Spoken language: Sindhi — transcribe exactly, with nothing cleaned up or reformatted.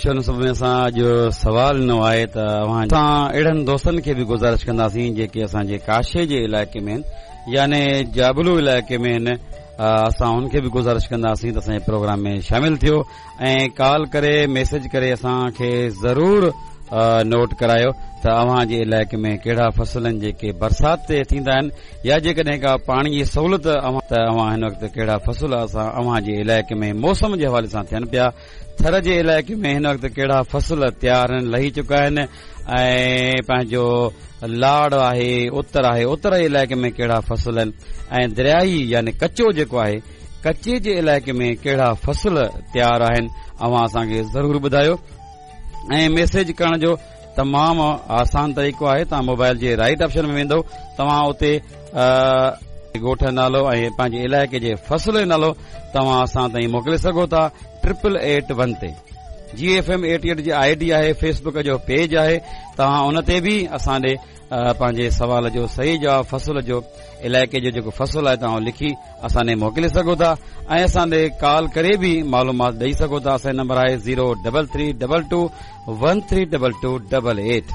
ان سب ۾ اسان اڄ سوال ڏنو آهي ته اوهان اسان اهڙن دوستن کي به گذارش ڪنداسين جيڪي اسان جي ڪاشي جي علائقي ۾ آهن، يعني جابلو علائقي ۾ آهن. اسان ان کي به گذارش ڪنداسين ته اسان جي پروگرام ۾ شامل ٿيو ۽ ڪال ڪري ميسيج ڪري اسان کي ضرور نوٽ ڪرايو ته اوهان جي علائقي ۾ ڪهڙا فصل آهن جيڪي برسات تي ٿيندا آهن، يا جيڪڏهن ڪا پاڻي جي سهولت اوهان ته اوهان هن وقت ڪهڙا فصل اسان اوهان جي علائقي ۾ موسم جي حوالي سان ٿين پيا. ٿر جي علائقي ۾ هن وقت ڪهڙا فصل تيار آهن، لهي چڪا آهن، ۽ پنهنجو لاڙ آهي، اتر آهي، اتر جي علائقي ۾ ڪهڙا فصل آهن، ۽ دريائي يعني ڪچو جيڪو آهي، ڪچي جي علائقي ۾ ڪهڙا فصل تيار آهن، اوهان اسان کي ضرور ٻڌايو. ۽ ميسيج ڪرڻ جو تمام آسان طريقو آهي، توهان موبائل جي رائٽ آپشن ۾ ويندو، توهان اتي ڳوٺ جو نالو ۽ پنهنجي علائقي جي فصل جو نالو توهان اسان تائين موڪلي سگهو ٿا ٽرپل ايٽ ون تي. جي ايف ايم ايٽي ايٽ جي I D آهي، فيسبڪ جو پيج آهي، توهان ان تي به اسان ڏي پنهنجي سوال جو صحيح جواب فصل جو علائقي جو جيڪو فصل آهي توهان لکي اسان ڏي موڪلي سگهو ٿا، ۽ اسان ڏي ڪال ڪري به معلومات ڏئي سگهو ٿا. اسان جو نمبر آهي zero double three double two one three double two double eight.